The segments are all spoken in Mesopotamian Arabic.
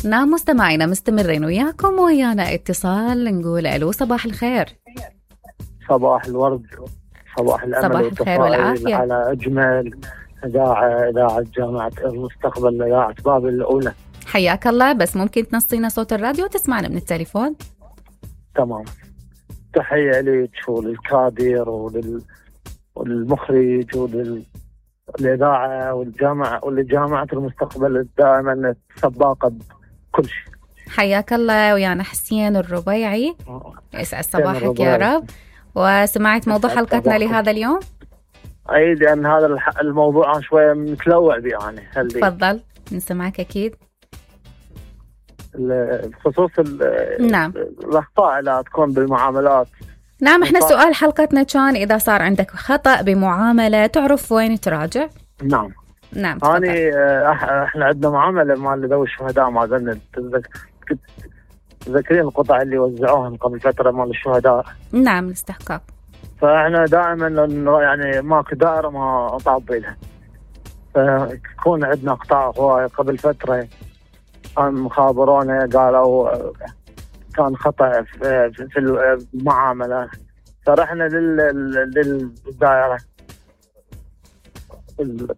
نعم مستمعينا مستمرين وياكم ويانا اتصال نقول ألو صباح الخير. صباح الورد، صباح الأمل، صباح الخير والعافية على أجمل إذاعة جامعة المستقبل، إذاعة بابل الأولى. حياك الله، بس ممكن تنصينا صوت الراديو وتسمعنا من التليفون؟ تمام. تحية لك وللكادر والمخرج وللإذاعة والجامعة ولجامعة المستقبل دائما سباقة بكل شيء. حياك الله، ويانا حسين الربيعي، يسعد صباحك يا رب. وسمعت موضوع حلقتنا لهذا اليوم؟ أي، لأن هذا الموضوع شوية متلوع بي يعني. تفضل نسمعك أكيد. الخصوص نعم الأخطاء لا تكون بالمعاملات. نعم، احنا سؤال حلقتنا كان إذا صار عندك خطأ بمعاملة تعرف وين تراجع؟ نعم احنا عندنا معاملة مال ذوي الشهداء، ما زلنا تذكرين القطع اللي وزعوهم قبل فترة مال الشهداء؟ نعم، الاستحقاق. فاحنا دائما يعني ماكو دائرة ما طابي لها، فيكون عندنا قطاع هواية. قبل فترة كان مخابرونا قالوا كان خطأ في المعاملة، فرحنا للدائرة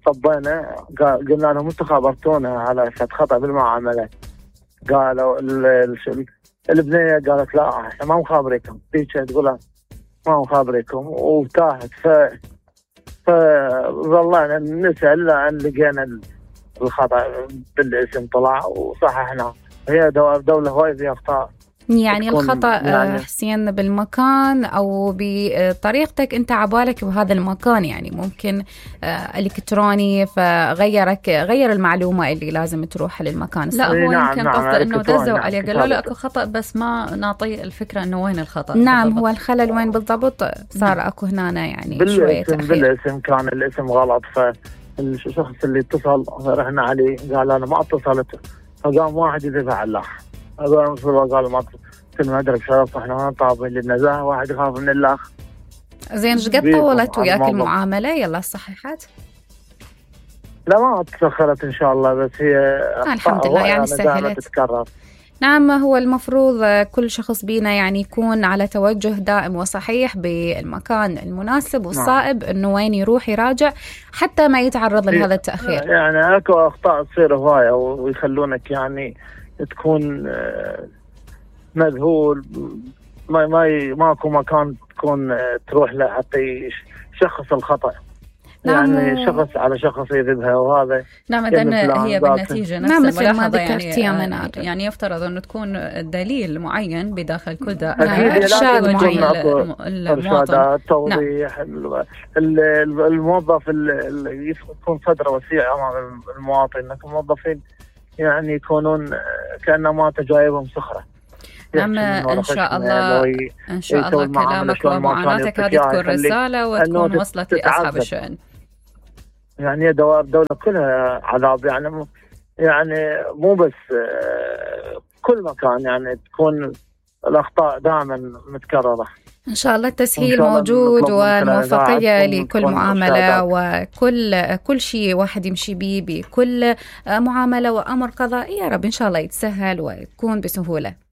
طبينا، قلنا لهم انتم خابرتونا على خطأ بالمعاملة. قالوا البنية قالت لا احنا ما مخابريكم، هيك تقول ما مخابريكم، وتاهت. فظلنا نسأل لأن لقينا الخطأ بالاسم طلع وصححنا. هي دولة هواي فيها أخطاء، يعني الخطأ يعني حسين بالمكان أو بطريقتك أنت عبالك بهذا المكان، يعني ممكن إلكتروني غير المعلومة اللي لازم تروح للمكان الصحيح. لا هو يمكن قصده أنه دزوا عليه قالوا له أكو خطأ بس ما نعطي الفكرة أنه وين الخطأ. نعم بالضبط. هو الخلل وين بالضبط صار أكو هنا يعني شوية تأخير بالاسم. كان الاسم غلط، فالشخص اللي اتصل رحنا عليه قال أنا ما اتصلت، فقام واحد يدفع الأخ. قالوا ما كل ما أدرك شرف احنا ما طابين للنزاهة، واحد يخاف من الأخ. زين ايش قد طولت وياك المعاملة؟ يلا صححت؟ لا ما تأخرت إن شاء الله، بس هي الحمد لله يعني سهلت تتكرر. نعم، هو المفروض كل شخص بينا يعني يكون على توجه دائم وصحيح بالمكان المناسب والصائب انه وين يروح يراجع حتى ما يتعرض لهذا التأخير. يعني اكو اخطاء تصير هواية ويخلونك يعني تكون مذهول، ماكو مكان تكون تروح له حتى يشخص الخطأ. نعم. يعني شخص على شخص يذبها، وهذا نعم إذن هي بالنتيجة نفس الملاحظة يعني يفترض أنه تكون دليل معين بداخل كل إرشاد معين المواطن، توضيح. الموظف يكون صدره وسيع أمام المواطن، لكن الموظفين يعني يكونون كأنما تجايبهم صخرة. نعم إن شاء الله كلامك ومعاناتك هذه تكون رسالة وتكون وصلت لأصحاب الشأن. يعني دولة كلها عذاب، يعني مو بس كل مكان يعني تكون الأخطاء دائما متكررة. إن شاء الله التسهيل موجود والموفقية لكل معاملة وكل شيء واحد يمشي بيه بكل معاملة وأمر قضائي، يا رب إن شاء الله يتسهل ويكون بسهولة.